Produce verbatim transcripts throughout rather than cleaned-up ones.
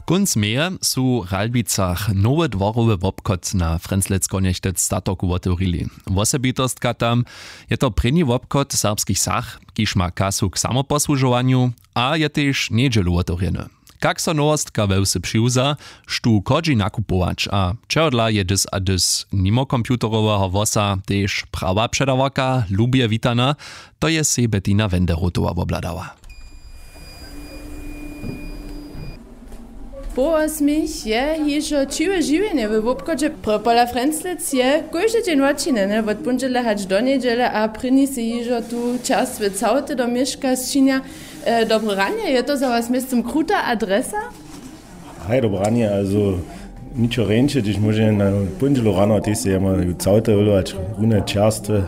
Kónc meje su w Ralbicach nowy dworowy wobchod na Frenzlec Konjechtec statoku wotewrili. Wosebitostka tam je to prěni wobchod serbskich sach, kiž ma kasu k samoposłužowanju a je tež njedźelu wotewrjeny. Kak so nowostka we wsy přiwza, štó chodźi nakupować a čehodla je dys a dys nimo computeroweho hłosa tež prawa předawarka lubje witana, to je sej Bettina Wenderotowa wobhladała. Połosmich je hižo ćiwe žiwjenje we wobchodźe. Pola Frenzlec je kóždy dźeń wočinjene wot póndźele hač do njedźele a prěni sej hižo tu čerstwe całty do měška sčinja. E, dobre ranje, je to za was městym kruta adresa? Haj, dobre ranje, also ničo rjeńše, hdyž móže na póndźelu rano, tež sej jema całte wylować, rune čerstwe,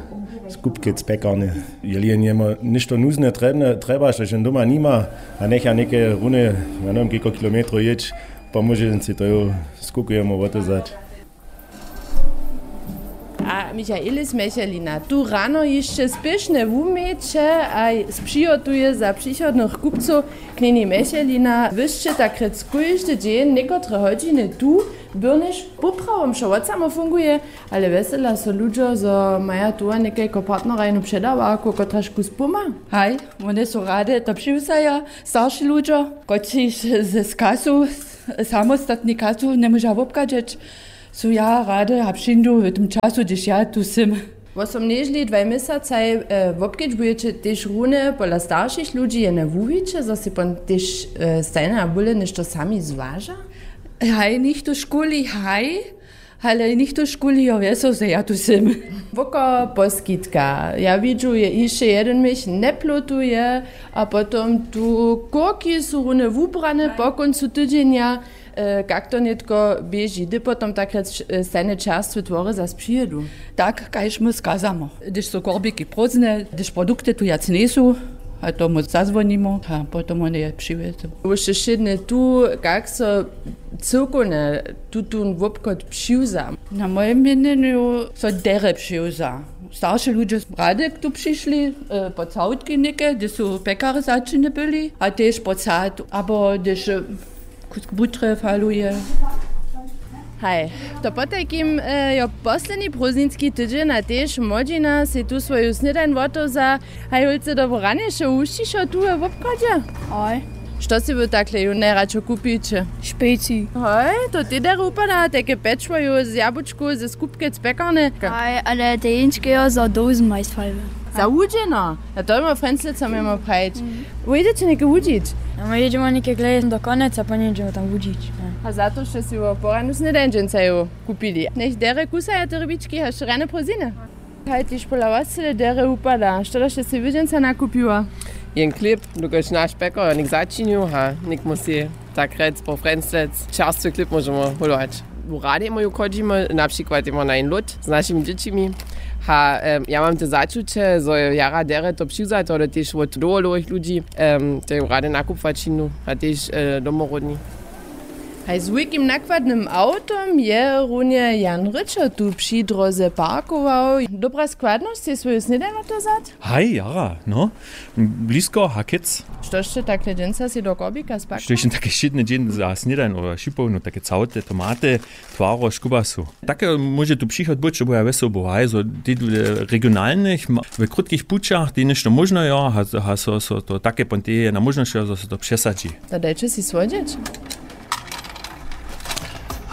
skupkec, pjekarnje. Jeli jen jema něšto nuzne, trjebne, trjebaš, to jen doma nima, a njecha něke rune, ja njewěm, kejko kilometrow jěć, pomóže jen sej to jo, skukujemo wotezać. A Michaelis Mechelina, tu rano hišće spěšnje wuměće a přihotuje za přichodnych kupcow. Knjeni Mechelina, wy sće tak rjec kóždy dźeń někotre hodźiny tu, byrnjež poprawom wšo wot samo funguje, ale wjesela so ludźo, zo maja tu a někajko partnerajnu předawarku, kotraž kus puma. Haj, wone su rady to přiwzaja, starši ludźo, kotřiž z, z kasu, samostatni kasu, njemóža wobchadźeć. Su ja rady a přińdu w tym času, hdyž ja tu sym. Wosomnježli dwaj měsacaj, e, wobkedźbujeće tež rune pola staršich ludźi, jene wuwiće, zo sej pon tež, e, stajnje a bóle něšto sami zwaža? Haj, nichtó škuli, haj, ale nichtó škuli, jo, wjeso, zo ja tu sym. Woko poskitka. Ja widźu, je hišće jedyn měch njeplotuje, a potom tu kórki su rune wubrane po kóncu tydźenja. E, kak to nětko běži, hdy potom takle č-, e, stajnje čerstwe twory zas přijedu? Tak, kaž my skazamo. Hdyž su korbiki prózdne, hdyž produkty tu wjac njejsu, a tomu zazwonimo, a potom wone je přiwjezu. Wóšte wšědnje tu, kak so cyłkownje tutón wobchod přiwza? Na mojim měnjenju so derje přiwza. Starši ludźe rady tu přišli, e, po całtki něke, hdyž su pjekarje začinje byli, a tež po całt, abo hdyž, e, Kusk butre faluje. Haj, to potajkim, e, jo, posledni prózdninski tydźeń a tež młodźina sej tu swoju snědań wotewza. Haj, hólcy, dobre ranje, wšo wušćišo tu we wobchodźe? Haj. Što sej wy takle jónu najradšo kupiće? Špeci. Haj, to tež derje wupada, tajke pječło jo z jabučkow, ze skupkec, pjekarnje. Haj, ale te jeńčke jo, za dołzyn majstwalby. Za wudźeno? A to běmo Frenzlec, co měmy prajić. Wójdyće něke wudźić? A my jědźemy něke glej do Konjeca, po nědźe tam wudźić. A za to sće sej wo poranu snědań dźensa jo kupili. Njech derje kusaja te rybički, haž rjane prózdniny. Haj, tež pola was cyle derje wupada. Što da sće sej wy dźensa nakupiła? Jen chlěb, dokelž naš pjekar jo něk začinił, ha, něk musy tak rjec po Frenzlec čerstwy chlěb móžemy hólować. W radej móju chodźimy, na přikład jemo na jen lód z našimi dźěćimi. Ha, em, ja mam te začuće, zo je jara derje to přiwzato, ale tež wot dołho dołhich ludźi, em, te rady nakupować činu, a tež, e, domoródni. Haj, z wulkim nakładnym awtom je runje Jan Ryčo tu při dróze parkował. Dobra składnosć, sej swoju snědań wotewzać? Haj, jara, no. Blisko, hakec. Što sće takle dźensa sej do korbika spakowali? Što je take wšědny dźeń za snědań, abo šipołnu, take całte, tomaty, twarožk, kubasu. Take móže tu přichod być, bo ja wjesoł był, haj, zo tež w regionalnych, ma-, w krótkich pućach, tež něšto móžno jo, ha, ha, so, so to take pon tež je na móžnosć, zo se to přesadźi. To dajće sej słodźeć.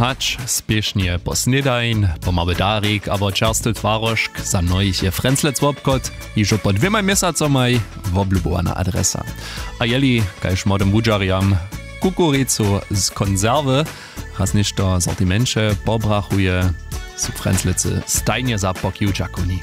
Hač spěšnje po snědań, pomału darik abo čerstwy twarožk, za mnohich je Frenzlec wobchod hižo po dwěmaj měsacomaj woblubowana adresa. A jeli, kaž młodym wudźerjam kukuricu z konserwy raz něšto w sortimenće pobrachuje, su Frenzlecy stajnje za pokiw dźakowni.